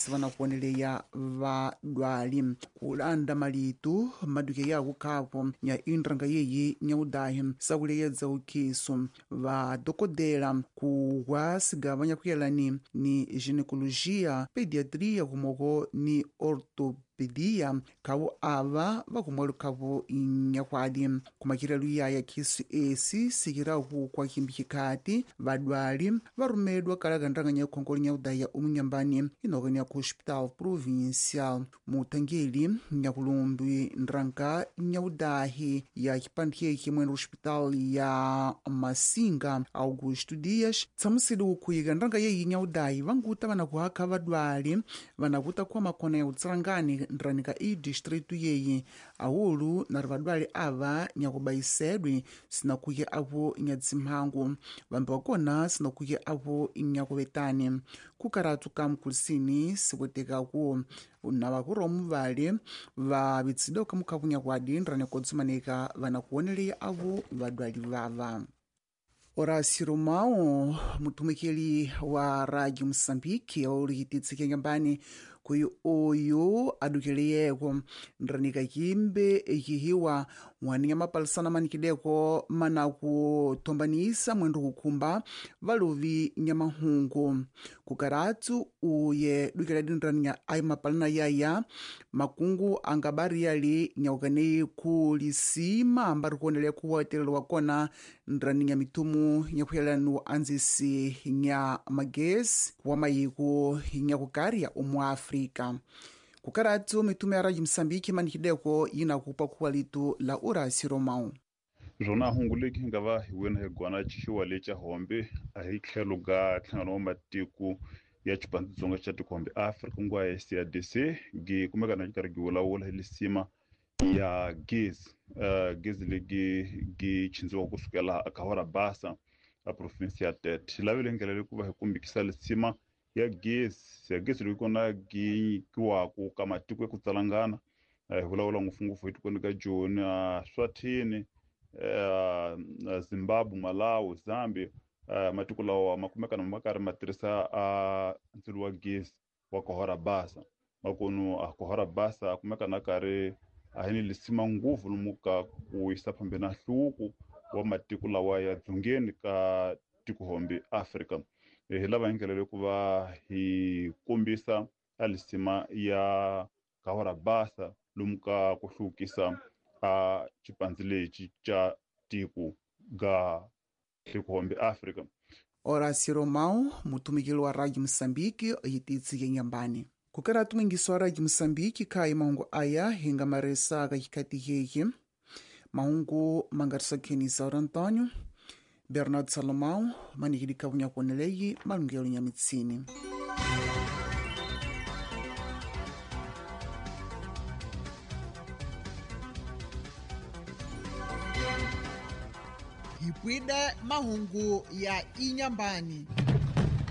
Sivanakuoneleya vadwali kulanda malitu maduke yaku khapo nya indrang yeyi nyaudahi sakuleyedza ukhisu vadokodela kuwa sigava nyakuyelani ni ginecologia, pediatria kumoko ni ortopedia khawo ava vakumwelo khawo nyakwadi kumakirelo yaya khisu esi sikiraku kwa kimbikhikati vadwali varumedwa kalaka ndranganya khongolo nyaudaya omunyambani inokenia ku hospital provincial mutangeli nyakulumbi ndranka nyaudahi ya xipandikeki mwene hospital ya Masinga Augusto Dias tsamusile ukhuyika ndranka yeyi nyaudahi vanguta vanakuhakha vadwali vanakuta khuwa makhona ya utsirangani ndranika i distritu yeyi awulu nari vadwali ava nyakubayisedwe sinakhuye avo nyatsimhangu vambi wakona sinakhuye avo nyakuvetani kukaratu ka mkulisini sikwetekaku na vale vavitsidwe kamukhakunya kwadi ndrani kodzimanika vanakuoneleya avo vadwali vava. Horácio Romão, mutumikeli wa Rádio Moçambique, olikititsike nyambani kuyi oyo adukeleyeko ndranika kimbe ekihiwa waninya mapalisana manikileko manakuthombanisa mwendu kukhumba valuvi nyamahungu kukaratu uye dukeladi ndraninya ayi mapalana yaya makungu angabariyali nyaukaneyi khulisima ambari kuonelea khuwatelelwa kona ndraninya mithumu nyakhuyelanu anzisi nya magesi wa mayiko nyakukarya omu Afrika. Kukaratu mitume ya Radio Msambiki manikideko yinakupa khuwa litu la Horácio Romão. Zwona hungu leki hi nga va hi wina hi gwana xiwa lexa hombe a hi tlhelo ga nhlangano wa matiko ya xipandzitsonga xa tikhombe Afrika ku nga SADC gi kumeka na xi karhi gi vulavula hi lisima ya gezi gezi legi gi chindziwa kusukela a Basa a province ya Tete hi lavile ndlela leyi ku va hi kumbikisa lisima ya gezi ya gezi leyi kona gi nyikiwaku ka matiko ya ku tsalangana hi vulavula ngopfungopfu hi tikweni ka Joni Swathini Zimbabwe, Malawi, Zambia matiko lawa ma kumeka na ma karhi ma tirhisa ndzilo wa gezi wa Kahora Basa makunu a Kahora Basa a kumeka na karhi a hi ni lisima ngopfu lomu ka ku yisa phambi na nhluvuko wa matiko lawa ya dzongeni ka tikohombe Afrika. Hi lava hi ndlela leyi ku va hi kombisa a lisima ya Kahora Basa lomu ka ku hluvukisa a xipandzi lexi xa tiko ga tikohombe Afrika. Horácio Romão, mutumikeli wa Rádio Moçambique, yititsike nyambani. Kukaratu mwingiso wa Rádio Moçambique khayi mahungu aya hinga maresa ka xikati heki. Mahungu mangariswa Isaura Antônio, Bernardo Salomão, manikili kavunya kuoneleyi malungelo nya mitsini. Hipwide mahungu ya inyambani.